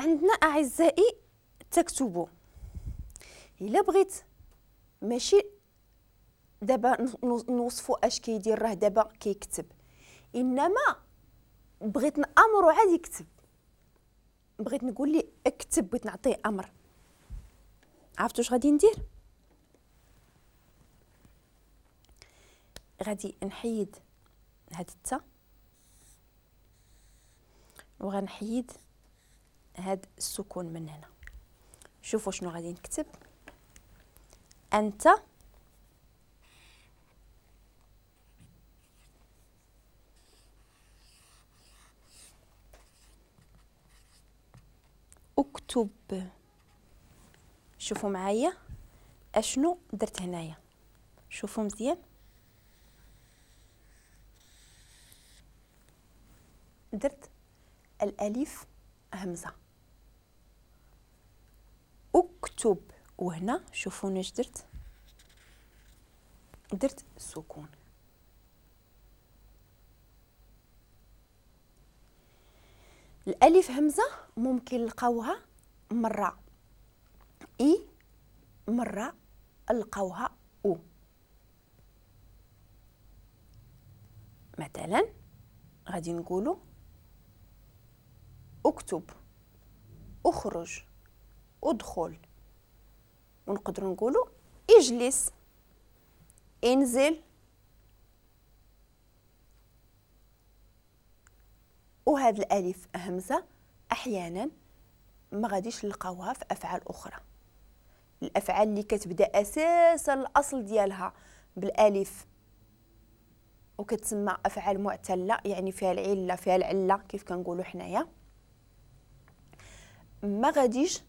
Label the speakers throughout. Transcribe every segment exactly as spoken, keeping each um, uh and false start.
Speaker 1: عندنا اعزائي تكتبوا. الا بغيت ماشي دابا نوصفوا اش كيدير، راه دابا كيكتب، انما بغيت نامرو عاد يكتب، بغيت نقول ليه اكتب، بغيت نعطيه امر. عرفتوا اش غادي ندير؟ غادي نحيد هاد التا وغنحيد هاد السكون من هنا. شوفوا شنو غادي نكتب. انت اكتب. شوفوا معايا اشنو درت هنايا، شوفوا مزيان. درت الالف همزه، اكتب، وهنا شوفوا اش درت، درت سكون. الالف همزه ممكن نلقاوها مرة اي، مرة نلقاوها او. مثلا غادي نقولوا اكتب، اخرج، ادخل، ونقدروا نقولوا اجلس، انزل. وهذا الالف همزه احيانا ما غاديش نلقاوها في افعال اخرى. الافعال اللي كتبدا اساسا الاصل ديالها بالالف وكتسمى افعال معتله، يعني فيها العلة، فيها العلة كيف كنقولوا حنايا، ما غاديش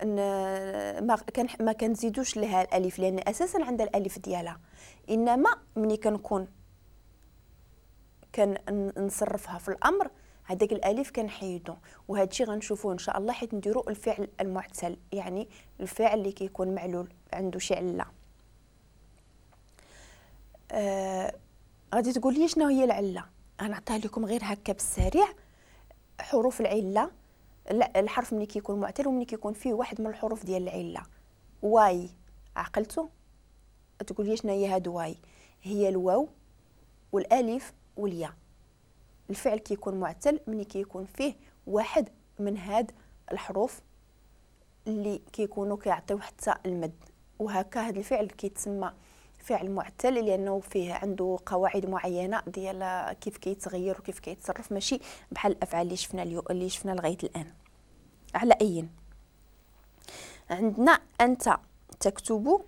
Speaker 1: ما كان ما كنزيدوش لها الالف لان اساسا عندها الالف ديالها. انما ملي كنكون كنصرفها في الامر هذاك الالف كنحيدو، وهذا الشيء غنشوفوه ان شاء الله حيت نديرو الفعل المعتل، يعني الفعل اللي كيكون معلول عنده شي عله. آه غادي تقول لي شنو هي العلة؟ غنعطيها لكم غير هكا بالسريع. حروف العلة، الحرف ملي كيكون معتل وملي كيكون فيه واحد من الحروف ديال العلة. واي، عقلتو؟ تقول لي شنو هي هاد واي؟ هي الواو والالف والياء. الفعل كيكون معتل ملي كيكون فيه واحد من هاد الحروف اللي كيكونوا كيعطيو حتى المد، وهكا هاد الفعل كيتسمى فعل معتل لانه فيه عنده قواعد معينة ديال كيف كيتغير وكيف كيتصرف، ماشي بحال الافعال اللي شفنا اليوم اللي شفنا لغاية الان. على اي، عندنا انت تكتب،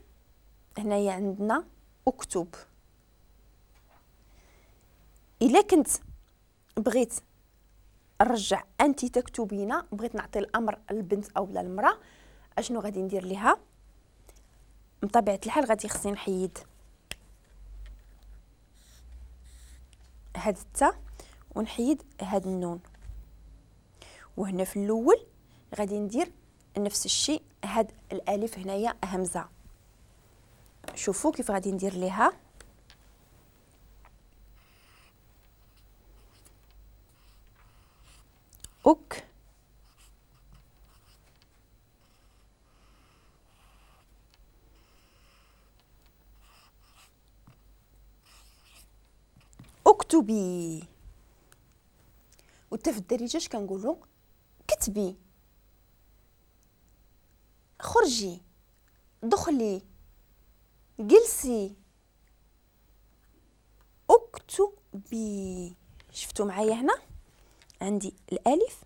Speaker 1: هنايا عندنا اكتب. الا كنت بغيت نرجع انت تكتبين، بغيت نعطي الامر للبنت او للمراة، اشنو غادي ندير ليها؟ بطبيعة الحال غادي خصني نحيد هاد التا ونحيد هاد النون، وهنا في الاول غادي ندير نفس الشيء، هاد الالف هنايا همزه. شوفوا كيف غادي ندير ليها. أك اكتبي. وحتى في الدارجة اش كنقولوا؟ كتبي، خرجي، دخلي، جلسي، اكتبي. شفتوا معايا هنا عندي الالف